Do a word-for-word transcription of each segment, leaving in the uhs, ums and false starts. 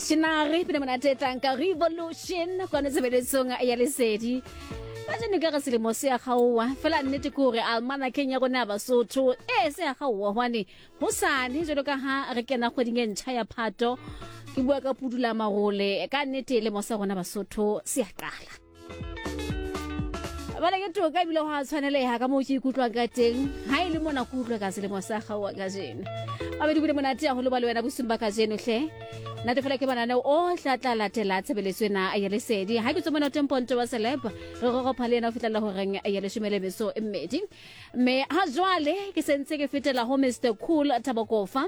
Shinari pina monate e tlang ka Revolution kwana tshebeletsong ya Lesedi. Kajeno ka re selemo se a kgaoha fela, nnete ke hore almanakeng ya rona ya Basotho e se a kgaoha, hobane hosane jwalo ka ha re kena kgweding e ntjha ya Phato, ke bua ka pudula marole, ka nnete lemo sa rona Basotho se a qala. Bale ke toka ebile ho a tshwaneleha ka moo ke ikutlwang ka teng ha e le mona ke utlwe ka selemo sa kgaoha kajeno. Babedi bile monate haholo ba le wena bosung ba kajeno hle. Nate fela ke mananeo ohle a tla latela tshebeletso ena ya Lesedi. Ha ke tswe mona teng Ponto wa Celeb, re roropha le ena ho fihlela horeng ya leshome le metso e mmedi. Mme ha jwale ke sentse ke fetela ho Mister Cool Thabokofa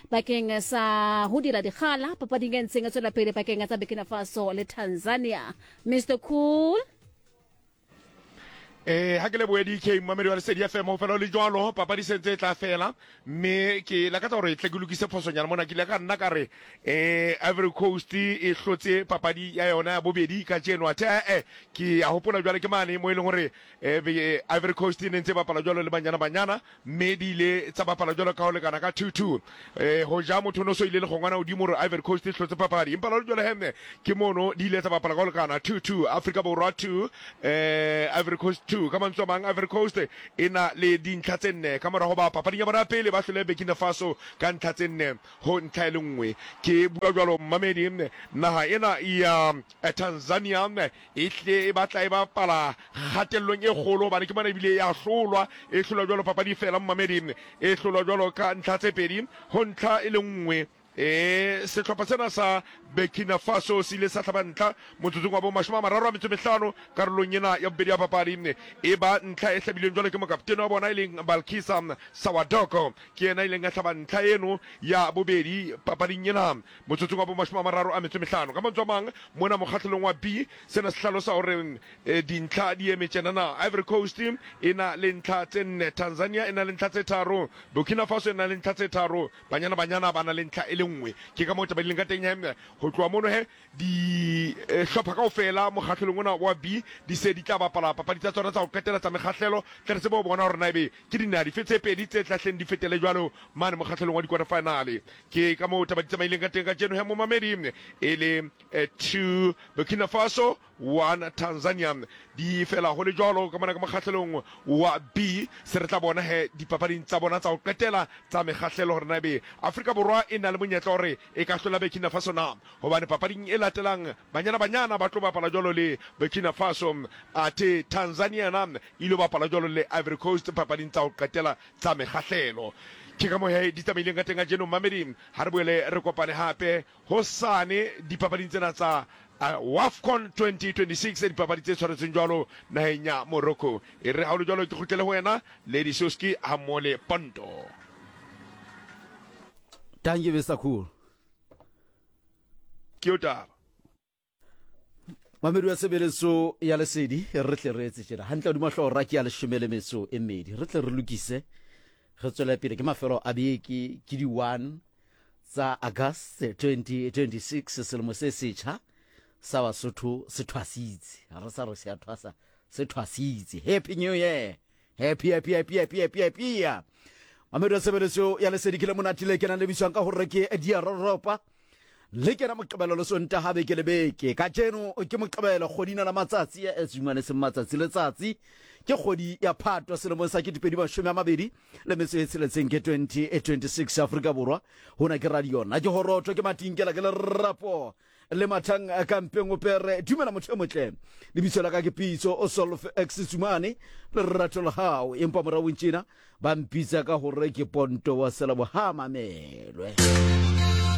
bakeng sa ho dira dikgala papading e ntseng e tswela pele pakeng tsa Burkina Faso le Tanzania. Mister Cool. Eh, ha ke lebohe D K, momamedi wa Lesedi F M. Ho fela le jwalo, papadi sentse e tla fela, mme ke lakatsa hore tle ke lokise phosonyana mona. Ke ile ka nna ka re eh Ivory Coast e hlotse papadi ya yona ya bobedi kajeno, athe eh ke a hopola jwale ke mane mo e leng hore eh Ivory Coast e ne ntse bapala jwalo le Banyana Banyana, mme di ile tsa bapala jwalo ka ho lekana ka two two. eh ho ja motho no so ile le gongwana hodimo hore Ivory Coast e hlotse papadi, empa la jwale hemme ke mono di ile tsa bapala ka ho lekana two two, Africa Borwa two, eh Ivory Coast two. Ka mantswe a mang, Ivory Coast e na le dintlha tse nne ka morago ba papading ya bona ya pele ba hlole Burkina Faso ka ntlha tse nne ho ntlha e le nngwe. Ke bua jwalo, mmamedi, naha ena ya Tanzania e tle e batla e bapala kgatellong e kgolo, hobane ke mona ebile ya hlolwa, e hlolwa jwalo papadi fela, mmamedi, e hlolwa jwalo ka ntlha tse pedi ho ntlha e le nngwe. E sehlopha sena sa Burkina Faso se ile sa hlaba ntlha motsotsong wa bo mashome a mararo a metso mehlano karolong ena ya bobedi ya papadi. E ba ntlha e hlabilweng jwalo ke mokaptene wa bona e leng Balkisa Sawadoko, ke yena e leng a hlaba ntlha eno ya bobedi papading ena motsotsong wa bo mashome a mararo a metso mehlano. Ka mantswe a mang, mona mokgahlelong wa B, sena se hlalosa hore eh, dintlha di eme tjenana: Ivory Coast e na le ntlha tse nne, Tanzania e na le ntlha tse tharo, Burkina Faso e na le ntlha tse tharo, Banyana Banyana ba na le ntlha e le nngwe. Ke ka moo taba di leng ka teng he. Ho tloha mono he, dihlopha kaofela mokgahlelong ona wa B di se di tla bapala papadi tsa tsona tsa ho qetela tsa mekgahlelo, tle re tsebe ho bona hore na ebe ke dinaha dife tse pedi tse tlahleng di fetele jwalo mane mokgahlelong wa di-quarter final. Ke ka moo taba di tsamaileng ka teng kajeno he, momamedi, e le eh, two Burkina Faso, one Tanzania, di fela ho le jwalo ka mona ka mokgahlelong wa B. Se re tla bona he dipapading tsa bona tsa ho qetela tsa mekgahlelo hore na ebe Afrika Borwa e na le monyetla hore e ka hlola Burkina Faso na, hobane papading e latelang Banyana Banyana ba tlo bapala jwalo le Burkina Faso, athe Tanzania na ile bapala jwalo le Ivory Coast papading tsa ho qetela tsa mekgahlelo. Ke ka moo he di tsamaileng ka teng kajeno, mmamedi. Ha re boele re kopane hape hosane dipapading tsena tsa uh, WAFCON twenty twenty-six, dipapadi tse tshwaretsweng jwalo naheng ya Morocco. E re ha o le jwalo ke kgutlele ho wena, Lady Soski, ha mmoho le Ponto. Thank you, Mister Cool. Ke yo taba. Mamedi wa tshebeletso ya Lesedi, re tle re etse tjena hantle hodima hlooho ra ke ya leshome le metso e mmedi. Re tle re lokise, re tswele pele. Ke mafelo a beke, ke di-one tsa August twenty twenty-six. Selemo se setjha sa Basotho se thwasitse, ha re sa re se a thwasa, se thwasitse. Happy New Year, happy, happy, happy, happy, happy, happy. Mamedi wa tshebeletso ya Lesedi, ke le monate le kenang le bitswang ka hore ke Diaroropa, le kena Moqebelo le Sontaha beke le beke. Kajeno ke Moqebelo, kgodina la matsatsi e tsumane seng matsatsi, letsatsi ke kgwedi ya Phato selemong sa ketepedi mashome a mabedi le metso e tsheletseng, ke twenty twenty-six. Afrika Borwa, hona ke radio, nna ke horotho, ke matinkela, ke lerapo le mathang kampeng o pere. Dumela motho e motle, lebitso la ka ke Pitso o Solf X Tsumane lerato la hao, empa moraong tjena ba mpitsa ka hore ke Ponto wa Selabo. Ha mamelwe.